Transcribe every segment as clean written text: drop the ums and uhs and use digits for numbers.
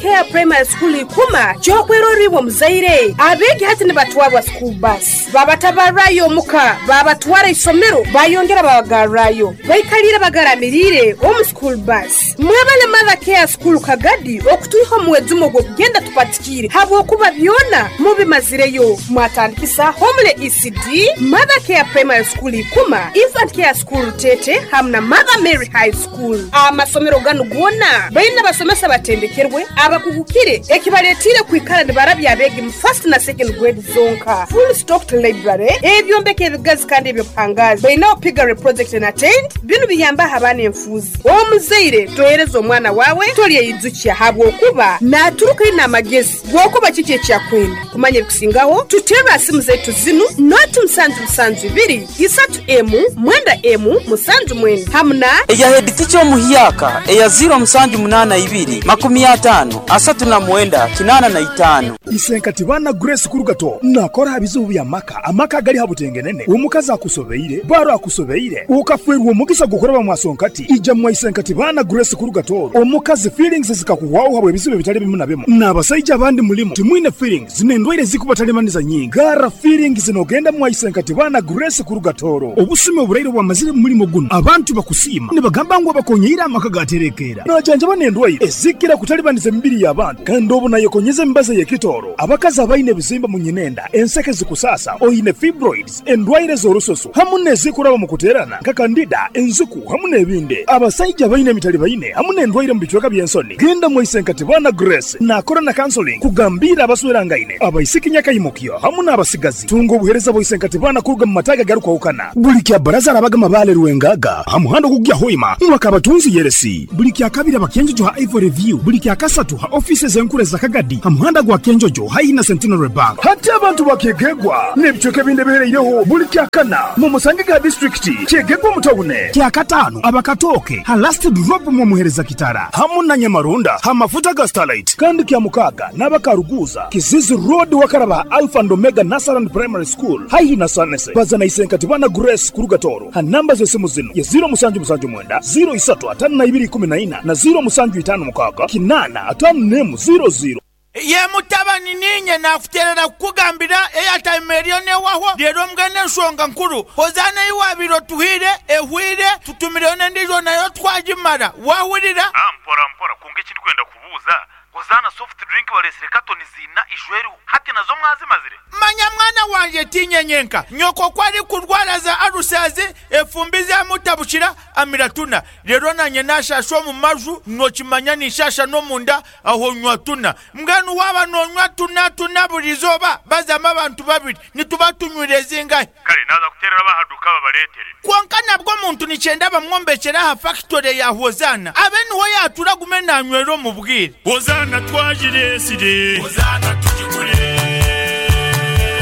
Care Primary School Ikuma ky'okwerorra iwe omuzaire. Abeegi hati nibatwarwa school bus, babatabarrayo omuka, babatwara isomero, bayongera babagarrayo. Baikaliire bagaramiriire omu school bus. Mwebale Mother Care School Kagadi okutwiha omu mwejumo ogw'okugenda tupatikiire habwokuba byona mubimazireyo. Mwatandikisa Homely ECD, Mother Care Primary School Ikuma, Infant Care School Rutete hamu na Mother Mary High School. Amasomero ganu goona baine abasomesa abatendekerwe, abakugukire ekibaletiire kwikara nibarabya abeegi mu first na second grade zonka. Full stocked library, ebyombeko ebigazi kandi eby'obuhangaazi. Bainaho piggery project na tent, binu biyambaho abaana enfuuzi. Omuzaire tohereza omwana waawe tolyeyijukya habwokuba naturuka aine amagezi g'okuba kiki ekyakwenda. Kumanya ebikusingaho tuterre ha simu zaitu zinu, noti musanju musanju ibiri, isatu emu, mwenda emu, musanju mwenda hamu na. Eya headteacher omuhyaka eya ziro musanju munana ibiri, makumi atano, asatu na mwenda, kinana na itano. Isenkati baana Grace Kurugato nakora ha bizibu bya maka, amaka agali ha butengenene, omukazi akusobeire, baro akusobeire, okafwerwa omugisa gw'okuraba mwa sonkati, ija mwa Isenkati baana Grace Kurugato, omukazi feelings zikakuhwaho habw'ebizibu ebitali bimu na bimu, n'abasaija abandi mulimu timwine feelings n'endwaire ezikubatalibaniza nyingi, garra feelings n'ogenda mwa Isenkati baana Grace Kurugatoro. Obusumi oburaire obwamazire mu mulimo guno, abantu bakusiima nibagamba ngu abakonyeire amaka gaterekeera. Najanjaba n'endwaire ezikira kutalibaniza emibiri y'abantu kandi obu nayekonyeza emibazi ey'ekitooro. Abakazi abaine ebizimba mu nyinenda, enseke zikusaasa, oine fibroids, endwaire z'orususu hamu n'ezikuraba mu kuteerana nka kandida, enziku hamu n'ebindi. Abasaija abaine emitalibaine hamu n'endwaire mu bicweka by'ensoni, genda mwa Isenkatibana Grace naakora na counseling kugambiira abaswerangaine, abaisiki nyakaimukyo hamu n'abasigazi. Tunga obuheereza bwa Isenkatibana kuruga mu mataagi agarukwahukana. Buli kya Baraza arabaga Mabaale Rwengaga ha muhanda ogukugya Hoima mwaka Abatunzi Yeresi. Buli kya Kabiri aba Kyenjojo ha Ivory View. Buli kya Kasatu ha ofiisi ez'enkuru eza Kagadi ha muhanda gwa Kyenjojo haihi na Centenary Bank. Hati abantu ba Kyegegwa n'ebicweka ebindi ebihereireho buli kya Kana mu musange ga disiturikiti Kyegegwa omu tawune. Kya Kataano aba Katooke ha Last Drop mw'omuheereza Kitara hamu na Nyamaronda ha mafuta ga Starlight. Kandi kya Mukaaga n'aba Karuguuza, Kizizi Road wakaraba ha Alpha and Omega Nursery and Primary School haihi na Sanese. Baza na Isenkatibana Grace kuruga Tooro ha namba z'esimu zinu ye ziro musanju musanju mwenda, ziro isatu atano na ibiri ikumi na ina na ziro musanju itano mukaaga kinaana atano n'emu ziro ziro. Ye mutabani niinye naakuteerera kukugambira airtime eriyo neehwaho reero mbwenu enshonga nkuru Hozaana ei waabaire otuhaire ehweire tutumireyo n'endiijo nayo twagimara waahurira? Mpora mpora kwonka eki ndikwenda kubuuza Hozaana soft drink bareetsire katoni ziina ijweriho hati nazo mwazimazire? Manya mwana wangye tiinye nyenka, nyoko ku arikurwara za alusazi, efumbi zamutabukira, amira tuna. Reero naanye naashaasha omu maju, nookimanya ninshaasha n'omunda, aho nywa tuna. Mbwenu waaba noonywa tuna tuna buri izooba, bazamu abantu babiri, nituba tunywire zingahi? Kare naaza kuteerera ab'aha duuka babareetere. Kwonka nabwo omuntu nikyenda bamwombekyere aha fakitore ya Hozaana, abe niho yaatura agume naanywera omu bwire. Hozaana twagireetsire. Hozaana tugigure.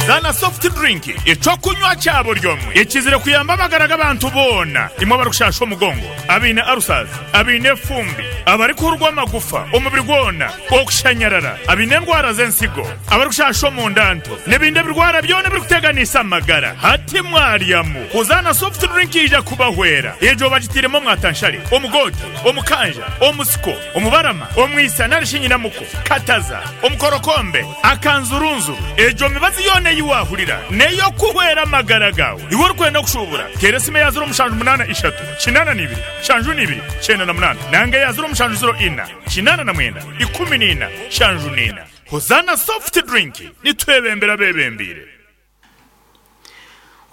Hozaana soft drink, eky'okunywa kya buri omwe ekizire kuyamba amagara g'abantu boona, imwe abarikushasha omugongo, abaine ulcers, abaine efumbi, abarikuhurwa amagufa omubiri gwona, okushanyarara, abaine endwara z'ensigo, abarikushasha omunda nto, n'ebindi ebirwara byona ebirikuteganisa amagara. Hati mwaryamu Hozaana soft drink yaija kubahwera. Egyo bagitairemu omwatanshare, omugoote, omukanja, omusiko, omubarama, omwisa nari shi nyinamuko, kataza, omukorokombe, akanzurunzuru. Egyo mibazi yoona ei waahurira n'ey'okuhwera amagara gaawe. Iwe orikwenda kushuubura, teera esimu eya ziro mushanju munaana ishatu, kinaana na ibiri, nshanju na ibiri, kyenda na munaana nanga eya ziro mushanju ziro ina, kinaana na mwenda, ikumi na ina, nshanju na ina. Hozaana Soft Drink, nitwebembera abeebembeire.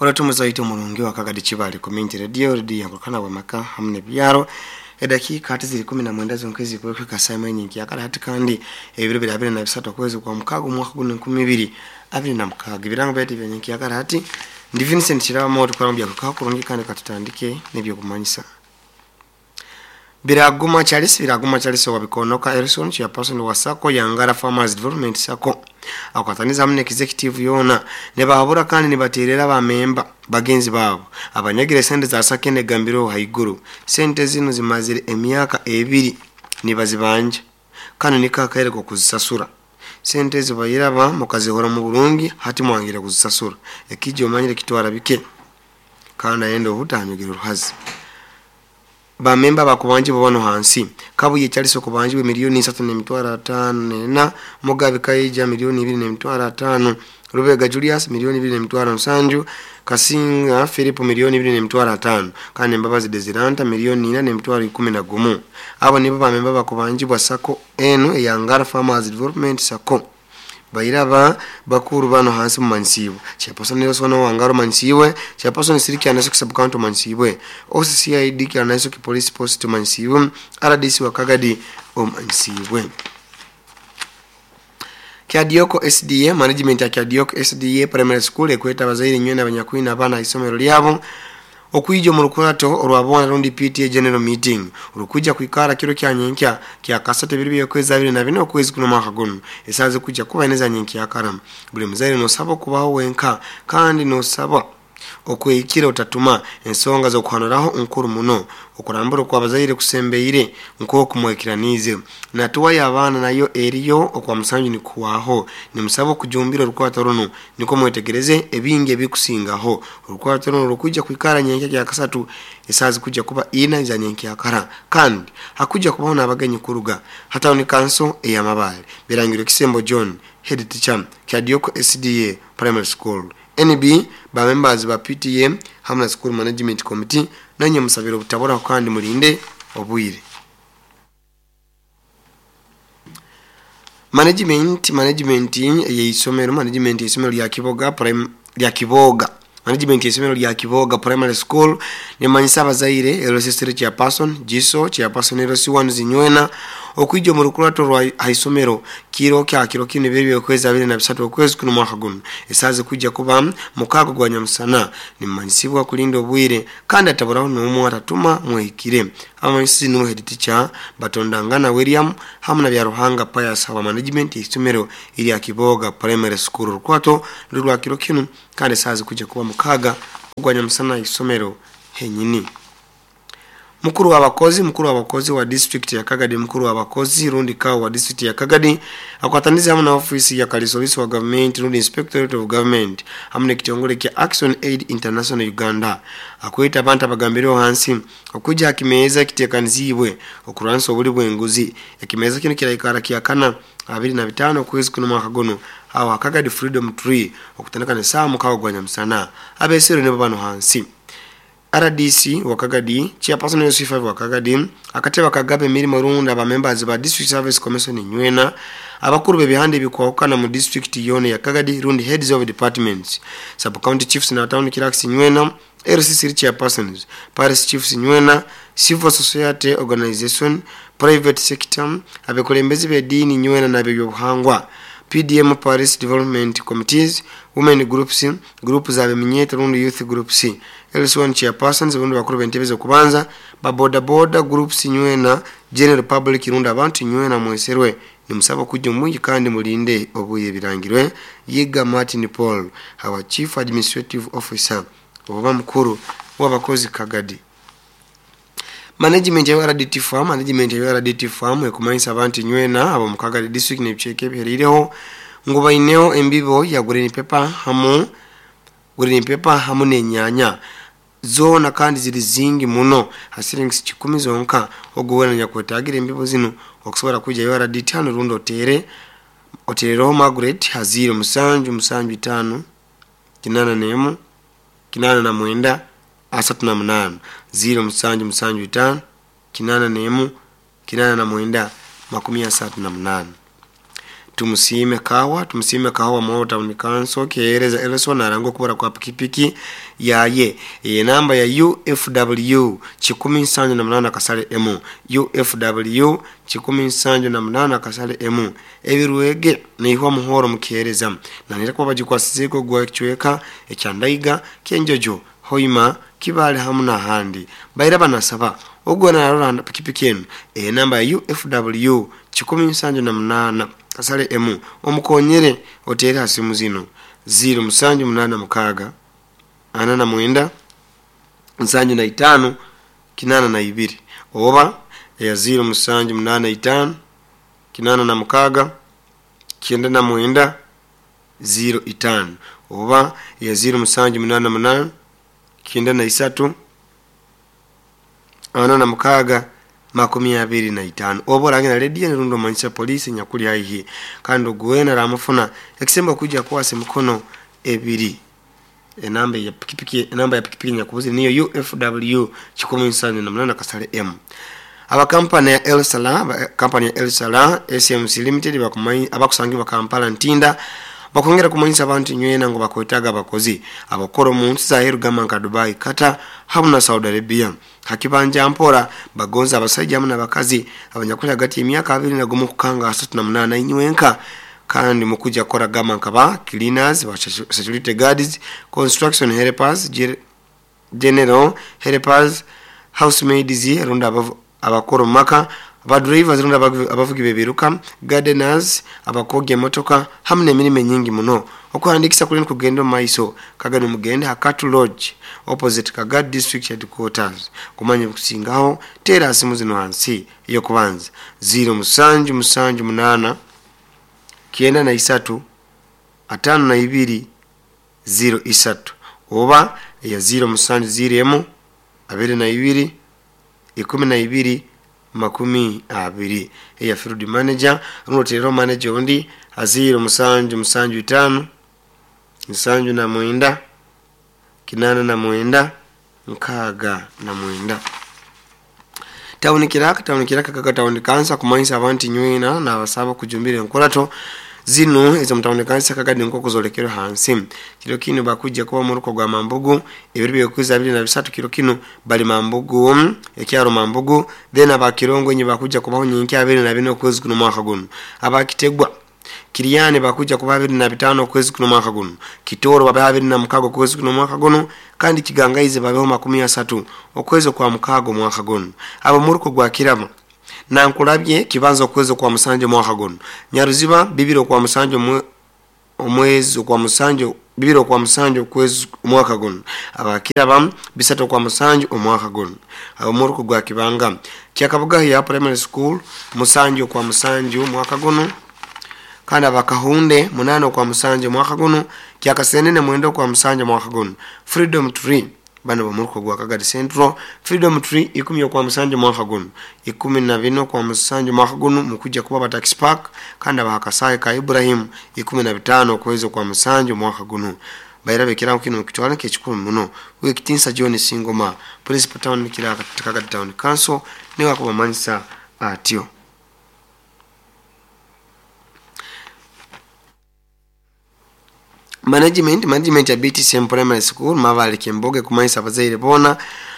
Olatumu zaitu omurungi wa Kagadi Kibale Community Radio, Radio yankurukana bwamaka hamu n'ebyaro. Edakiika hati ziri 19 zonka ezikurukwika saa emwe nyinkya hati kandi ebiro biri 23 okwezi kwa mukaaga omwaka guno 2026. Ebirango byaitu ebya nyinkya hati ndi Vincent Kirabamo tukora mu byakukaho kurungi kandi katutandike n'ebyokumanyisa. Biraguma Charles, Biraguma Charles wa Bikonoka Erison chairperson wa Sacco Yangara Farmers Development Sacco akwataniza hamwe executive yona nibahabura kandi nibaterera abamemba bagenzi babo abanyagire sente za Sacco negambiro haiguru. Sente zino zimazire emyaka ebiri nibazibanja kandi nikakaire kuzisasura. Sente zibayiraba mukazihora mu burungi hati mwangira kuzisasura ekijyo omanyire kitwara bike kandi ayenda obutanyugira uruhazi. Bamemba bakubanjibwa bano hansi: Kabuye Charles okubanjibwa 3,554,000, Mugabe Kaija 2,500,000, Rubega Julius 2,700,000, Kasinga Philip 2,500,000, kandi Mbabazi Desiranta 4,411,000. Abo nibo bamemba bakubanjibwa sako enu eya Ngara Farmers Development Sacco. Bairaba bakuru bano hansi mumanyisibwe: Chairperson Nelson Wangaro omanyisibwe, Chairperson Siriki Anasoki Sub-County omanyisibwe, OCCID Kyanasoki Police Post omanyisibwe, RDC wa Kagadi omanyisibwe. Kyadioko SDA management ya Kyadioko SDA Primary School ekweta abazaire nywena abanyakwina abaana isomero lyabo okwija omu rukurato orwabona rundi PTA General Meeting orukwijja kwikara kiro kya nyenkya kya kasatu ebiro by'okwezi 24 okwezi kuno mwaka guno, esaaha zikwijja kuba ina za nyenkyakara. Buli muzaire nosaba okubaho wenka kandi nosaba okwehikira otatuma ensonga z'okuhanuraho nkuru muno. Okurambura okw'abazaire kusembeire nk'oku mwekiraniize. Natuwa y'abaana nayo eriyo okwa musanju nikuhwaho. Nimusaba okujumbira orukwato runu nikwo mwetegereze ebingi ebikusingaho. Orukwato runu rukwija kwikara nyenkya kya kasatu esaaha zikwijja kuba ina za nyenkyakara, kandi hakwijja kubaho n'abagenyi kuruga ha town council ey'Amabaale. Birangirwe Kisembo John, head teacher, Kyadioko SDA Primary School. NB ba members ba PTA hamu na school management committee nanye musabire obutaburaho kandi mulinde obwire. Management ey'isomero, management y'isomero lya Kiboga Prime, lya Kiboga, management y'isomero lya Kiboga Primary School nemanyisa abazaire, LC3 chairperson Jiso, chairperson LC1 Zinywena okwija omu rukurato rwa haisomero kiro kya kiro kino ebiro by'okwezi 23 okwezi kuno mwaka guno, esaaha zikwijja kuba mukaaga gwa nyamusana. Nimumanyisibwa kulinda obwire kandi ataburaho n'omwe atatuma mwehikire. Abamanyisi nuwe head teacher Batondangana William hamu na Byaruhanga Pius wa management y'isomero erya Kiboga Primary School. Orukwato ruri rwa kiro kinu kandi esaaha zikwijja kuba mukaaga ogwa nyamusana isomero henyini. Mukuru w'abakozi wa district ya Kagadi, mukuru w'abakozi rundi kawo wa district ya Kagadi akwatanize hamu na ofisi ya kalisolisi wa government rundi Inspectorate of Government hamu n'ekitongole kya Action Aid International Uganda akweta abantu abagambireho hansi okwijja ha kimeeza ekiteekaniziibwe okurwanisa obuli bw'enguzi. Ekimeeza kinu kiraikara kyakana 25 okwezi kuno mwaka guno aho ha Kagadi Freedom Tree okutandika n'esaaha 6 gwa nyamusana. Abesero nibo bano hansi: RDC wa Kagadi, chairperson LC5 wa Kagadi, akatebe akagaba emirimo rundi abamembers ba District Service Commission nywena, abakuru b'ebihanda ebikwahukana mu district yona ya Kagadi rundi heads of departments, sub county chiefs na town clerks nywena, LC3 chairpersons, parish chiefs nywena, civil society organization, private sector, abekulembezi b'ediini nywena n'ab'ebyobuhangwa, PDM, parish development committees, women groups, group z'abeminyeta rundi youth groups, LC1 chairpersons rundi bakuru b'entebe z'okubanza, ba boda boda groups nywena, general public rundi abantu nywena mweserwe. Nimusaba kujja omwingi kandi mulinde obwire. Birangirwe Yiga Martin Paul, our chief administrative officer oba mukuru w'abakozi Kagadi. Management ya URDT Farm, management ya URDT Farm ekumanyisa abantu nywena abo mu Kagadi district n'ebicweka ebihereireho ngu baineho embibo ya green pepper hamu n'enyanya zoona kandi ziri zingi muno ha silingi 10 zonka. Ogwo wena nyakwetagira embibo zinu okusobola kwija URDT hano rundi otere oterereho Margaret ha 0 7 7 5 81 89 38, 0 7 7 5 81 89 38. Tumusiime Kawa Moro Town Council kehereza Elson arangwa okubura kwa pikipiki yaye enamba ya UFW 178 kasale M, UFW 178 kasale M, ebirwege neihwa muhoro mukihereza nanira kuba bagikwasizeeko gwa ekicweka ekyandaiga Kyenjojo, Hoima, Kibale hamu n'ahandi. Baira banasaba ogwo narora pikipiki enu enamba ya UFW 178 kasale M omukonyere otere ha simu zino: 0 7 8 6 49 75 82 oba eya 0 7 8 5 86 99 05 oba eya 0 7 8 8 93. 46 25. Oba orange na rediyo rundi omanyisa poliisi enyakuli haihi, kandi ogu wena aramufuna ekisembo kuija kukwasa emikono ebiri. Enamba ya pikipiki, enamba ya pikipiki enyakubuzire niyo UFW 178 kasale M. Abakampani ya El Salah, kampani ya El Salah SMC Limited abakusangibwa Kampala Ntinda bakwongera kumanyisa abantu nywena ngu bakwetaaga abakozi abakora omu nsi zaheru gamba nka Dubai, Qatar hamu na Saudi Arabia. Hakibanja mpora bagonza abasajja hamu n'abakazi abanyakuli hagati y'emyaka 21 kukanga 38 inywenka, kandi mukuja kukora gamba nka ba cleaners, ba security guards, construction helpers, general helpers, housemaids rundi abakora omu maka, abadrivers rundi abavugi b'ebiruka, gardeners, abakogya emotoka hamu n'emirimo enyingi muno. Okuhandikisa kuli nikugenda omu maiso. Kagani mugende ha Katu Lodge opposite Kagadi District Headquarters. Kumanya ebikusingaho teera simu zino hansi: ey'okubanza 0778 93 52 03, oba eya 0701 22 12 20, eya field manager. Rundi oteereho manager ondi ha 0775 79 89 69. Tawuni Kiraka, tawuni Kiraka kaka tawuni kansa kumanyisa abantu nywena n'abasaba kujumbira enkurato zinu ezo mutawuni kansa kakadi nk'oku zolekerwe hansi. Kiro kinu bakujja kuba muruko gwa Mambugu ebiro by'okwezi 23. Kiro kinu bali Mambugu, ekyaro Mambugu. Then abakirongo enye bakujja kubaho nyenkya 24 okwezi kuno mwaka guno. Abakitegwa Kiriyani bakuja kuba 25 okwezi kuno mwaka guno. Kitoro babe 26 okwezi kuno mwaka guno, kandi Kigangaize babeho 30 okwezi kwa mukago mwaka guno. Abo muruko gwa Kirama Nankulabye kibanza okwezi kwa musanju mwaka guno. Nyaruziba 2 kwa musanju omwezi kwa musanju, 2 kwa musanju okwezi mwaka guno. Abakiraba 3 kwa musanju omwaka guno. Abo muruko gwa Kibanga Kyakabuga ya primary school musanju kwa musanju mwaka guno, kandi abakahunde 8 kwa musanju mwaka guno. Kyakasenene 9 kwa musanju mwaka guno. Freedom Tree bano bamuruko gwa Kagadi Central, Freedom Tree 10 kwa musanju mwaka guno, 14 kwa musanju mwaka guno mukuja kuba batax park, kandi abahakasaye ka Ibrahim 15 okwezi kwa musanju mwaka guno. Bairabe kirango kino mukitwala nk'ekikulu muno. Wekitinsa John Singoma, Principal Town Kiraka Kagadi Town Council, niwe akubamanyisa atyo. Management ya BTCM Primary School Mavale Kemboge kumanyisa abazaire boona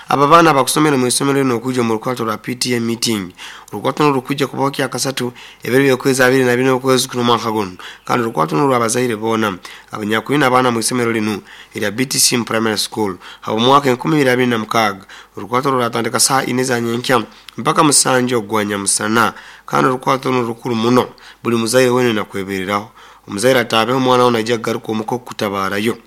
aba baana abakusomera mu isomero lino okuja mu lukwato lwa PTA meeting. Olukwato luno lukujja kubaho kyakasatu ebiro by'okwezi 24 okwezi kuno mwaka guno, kandi olukwato luno lw'abazaire boona abanyakulina abaana mu isomero lino erya BTCM Primary School habw'omwaka 2026. Olukwato luratandika saa 4 za nyenkya mpaka 7 ogwa nyamusana, kandi olukwato luno lukuru muno, buli muzaire wena nakwebereraho. Omuzaire ataabeho omwana we naija kugaruka omuka okukutabaarayo.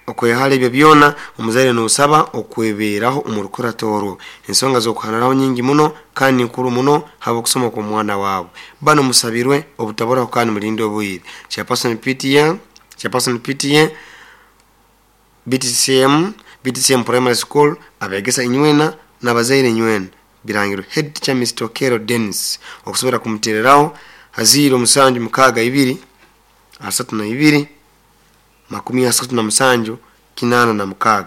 Okwehala ebyo byona omuzaire noosaba okwebeeraho omu rukurato orwo. Ensonga z'okuhanuraho nyingi muno kandi nkuru muno habw'okusoma kw'omwana waawe. Bano musabirwe obutaburaho kandi mulinde obwire. Chairperson PTA, Chairperson PTA BTCM, BTCM Primary School abegesa inywena n'abazaire inywena. Birangirwe head teacher Mr. Okero Dennis. Okusobora kumutereraho ha 0762 32 37 86.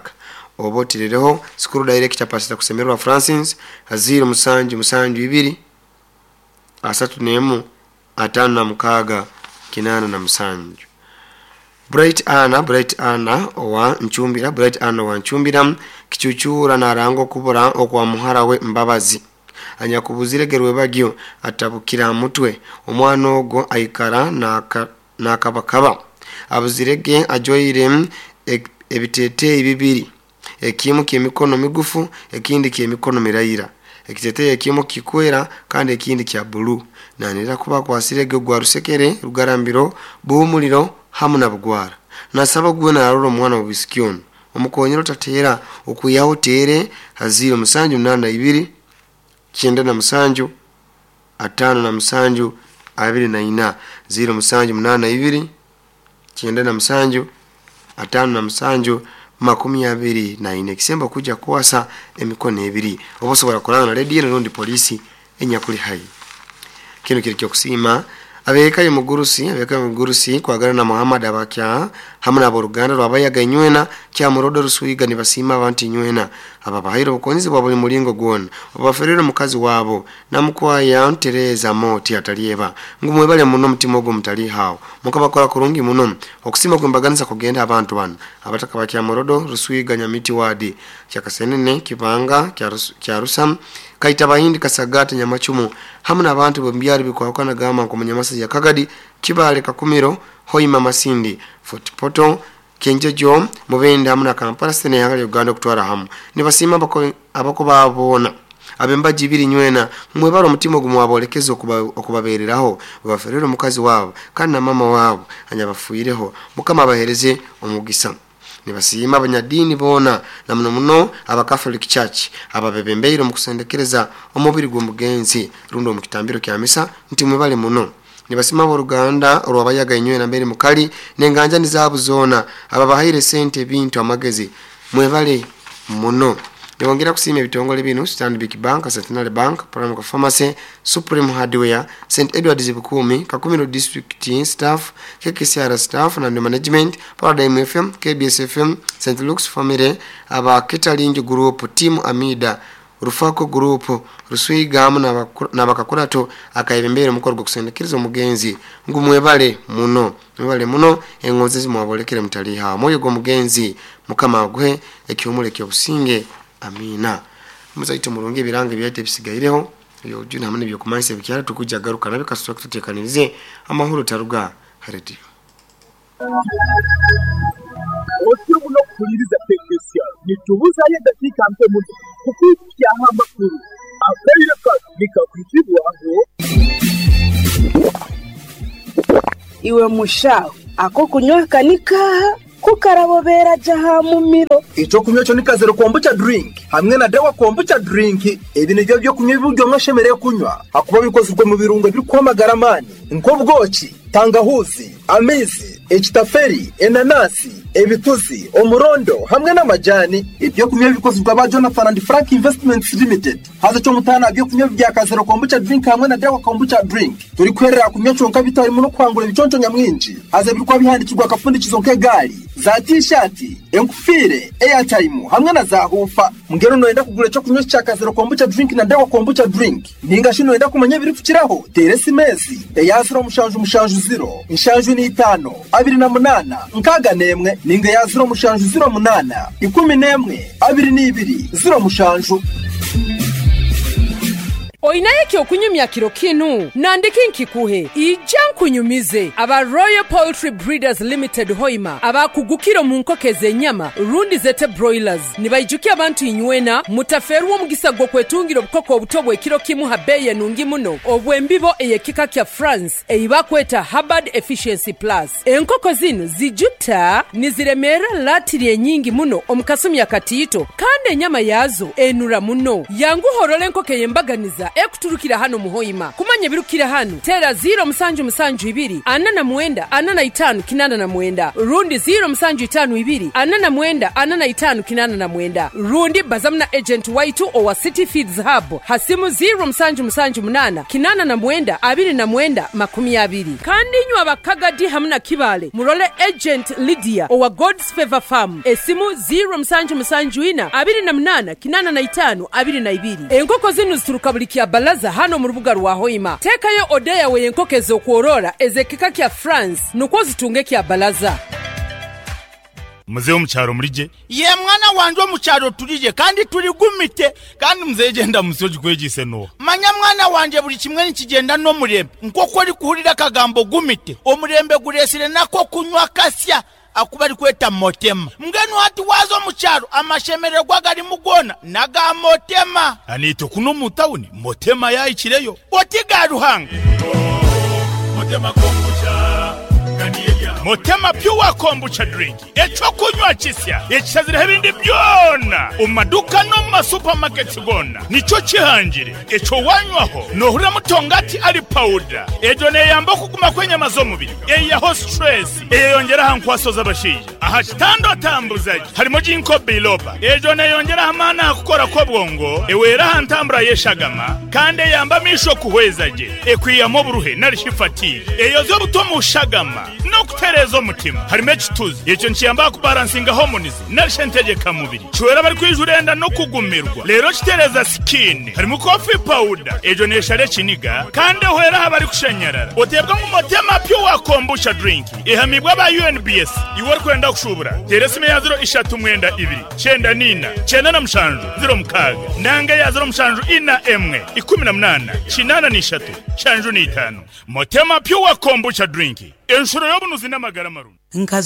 Oba oterereho school director Pastor Kusemererwa Francis ha 0772 31 56 87. Bright Anna, Bright Anna owa Nchumbira, Bright Anna owa Nchumbira kichuchura naranga okubura okwa muhara we Mbabazi anyakubuziregerwe bagyo atabukira mutwe. Omwana ogwo aikara nakabakaba abuzirege ajoire ebiteteyi bibiri, ekimu ky'emikono migufu ekindi ky'emikono mirayira. Ekiteteyi ekimu kikwera kandi ekindi kya bulu. Nanira kuba akwasirege gwa rusekere rugarambiro buhumuliro hamu na bugwara. Nasaba gwe narora omwana w'obwisiki onu omukonyera otateera okwihaho tere ha 0782 97 57 24, 0782 97 57 24, ekisembo kujja kukwasa emikono ebiri oba osobola kuranga na rediyo rundi polisi enyakuli hai. Kino kiri kyokusiima abeka y'omugurusi, abeka y'omugurusi kwagala na Muhammad abakya hamwe n'aboruganda rwabayaga inywena kyamurodo Ruswiga nibasiima abantu inywena ababahaire obukonzi bwa buli mulingo gwona obaferere mukazi wabo namukwaya Tereza Moti atalieba ngu mwebale muno omutima ogwo mutali hawo mukabakora kurungi muno. Okusiima kwembaganisa kugenda abantu bano abataka ba Kyamurodo Ruswiga Nyamiti wadi Kyakasenene Kibanga Kyarusam Kaita Bahindi Kasagata Nyamachumu hamwe n'abantu b'omubyaro bikwahukana gamba nko Munyamasa ya Kagadi Kibale Kakumiro Hoima Masindi Fort Portal Kenjojo Mubende hamwe na Kampala sene ya Uganda kutwara hamu nibasiima abako babona abembaji ibiri nywena mwebaro omutima ogumwe wabolekeza okubabereraho baferere omukazi wabo kandi na mama wabo anyabafuireho mukama abahereze omugisa. Nibasiima abanyadini bona na muno muno aba Catholic Church ababebembeire mu kusendekereza omubiri gw'omugenzi rundi omu kitambiro kya misa nti mwebale muno. Nibasima aboruganda olwabayaga inywena mbere mukali n'enganja nizaabu zona ababahaire sente ebintu amagezi mwebale muno. Nibongera kusiima ebitongole bino Stanbic Bank, Centenary Bank, Paramount Pharmacy, Supreme Hardware, St Edward's Bukumi, Kakumiro District Staff, KKCR Staff na Management, Paradigm FM, KBS FM, St Luke's Family, aba Catering Group, Team Amida, Rufako Group, Ruswiga hamwe n'abakakurato akayebembere omukoro gw'okusendekeriza omugenzi ngu mwebale muno, mwebale muno engonzi zimwabolekere mutaliha omwoyo gw'omugenzi mukama aguhe ekihumuro ekyobusinge. Amina. Muzaito murungi ebiranga ebyate bisigaireho ebyojuna hamwe n'ebyokumanisa ebikyara tukujja garuka nabe kasitwa kututekanirize amahoro taruga radio. Otyo muno kuhuliriza KKCR nitubuzayo eddakiika nke muno kukwikyaho amakuru akaire kano nikakwitibwaho. Iwe mushaho ako kunywa kanikaha kukarabobera jaha mumiro. Ekyokunywa ekyo ni kazero kombucha drink hamwe na dawa kombucha drink. Ebi nibyo byokunywa ebiryo mwashemereire kunywa hakuba bikozirwe mu birungo ebirikwamagara amaani nk'obwoki, tangahuzi, amaizi, ekitaferi, enanasi, ebituzi, omurondo hamwe n'amajani. Ebyokunywa bikozirwe aba Jonathan and Frank Investments Limited. Haza kyomutaana byokunywa bya kazero kombucha drink hamwe na dawa kombucha drink turikwerera kunywa kyonka bitarimu n'okwangura ebiconco nyamwingi. Haza ebirikuba bihandikirwa akafundikizo nk'egaari za t-shirt, enkufiire, airtime hamwe na za hufa. Mbwenu noyenda kugura ekyokunywa kya kazero kombucha drink na dawa kombucha drink ninga shi noyenda kumanya ebirikukiraho teera esimesi eya 0770 75 28 61 ninga ya 0708 11 22 07. Oinaye kyokunyumya kiro kinu nandiki nkikuhe ija nkunyumize aba Royal Poultry Breeders Limited Hoima abakugukiro mu nkoko ez'enyama rundi zete broilers nibaijukia abantu inywena mutaferwa omugisa gw'okwetungira obukoko obuto bw'ekiro kimu ha beeyi enungi muno obw'embibo ey'ekika kya France eibakweta Hubbard Efficiency Plus. Enkoko zinu zijuta niziremera latiri enyingi muno omu kasumi akatiito kandi enyama yazo enura muno. Yanguhorora enkoko ey'embaganiza ekuturukira hano muhoima. Kumanya ebirukira hano tera 0772 49 45 89 rundi 0752 49 45 89 rundi bazamna agent waitu owa City Feeds Hub hasimu 0778 89 29 20. Kandi nywa abakagadi hamna kibale murole agent Lydia owa God's Favor Farm esimu 0774 28 85 22. Enkoko zinu zituruka buli kya balaza hano mu rubuga rwa Hoima. Tekayo odeya we enkoko ez'okworora ez'ekika kya France nukwo zitunge kya balaza. Muzehe omukyaro murije? Ye mwana wanje omukyaro turije kandi turigumite. Kandi muzehe genda musoji kwegise no. Manya mwana wanje buli kimwe nikigenda n'omurembe. Nk'oku ori kuhurira akagambo gumite, omurembe guresire nako kunywa kasya akuba ari kweta motema. Mbwenu hati waza omukyaro amashemererwa garimu gona naga motema. Anito kuno mu tawuni motema yayikireyo. Oti ga Ruhanga. Motema kombucha kandi Motema Pure Kombucha Drink ekyokunywa kisya ekishazireho ebindi byona omu maduuka n'omu masupamaketi goona nikyo kihangire. Ekyo wanywaho noohurira mutongati ari pawuda. Egyo neeyamba okuguma kw'enyama z'omubiri, eihaho situresi, eyeyongyera aha nkwaso z'abashaija. Aha kitanda otambuza gye harimu Ginkgo biloba. Egyo neeyongyera aha maani aha kukora kw'obwongo, ehwera aha ntambura y'eshagama kandi eyamba amaisho kuhweza gye. Ekwihamu oburuhe nari shi fatigue. Eyozya obuta omu shagama n'okutereeza omutima. Harimu ekituzi. Ekyo nikiyamba aha kubaransinga hormones nari shi entegyeka mubiri. Kihwera abarikwijura enda n'okugumirwa. Reero kitereeza skin. Harimu coffee powder. Egyo neeshara ekiniga kandi ehwera aha barikushanyarara. Oteebwa ngu Motema Pure Kombucha Drink ehamiibwe aba UNBS. Iwe orikwenda kushuubura, teera esimu eya 0 3 2 94 97 06 nanga eya 0 7 4 18 83 75. Motema Pure Kombucha Drink, enshuro y'obunuzi n'amagara marungi. Nka.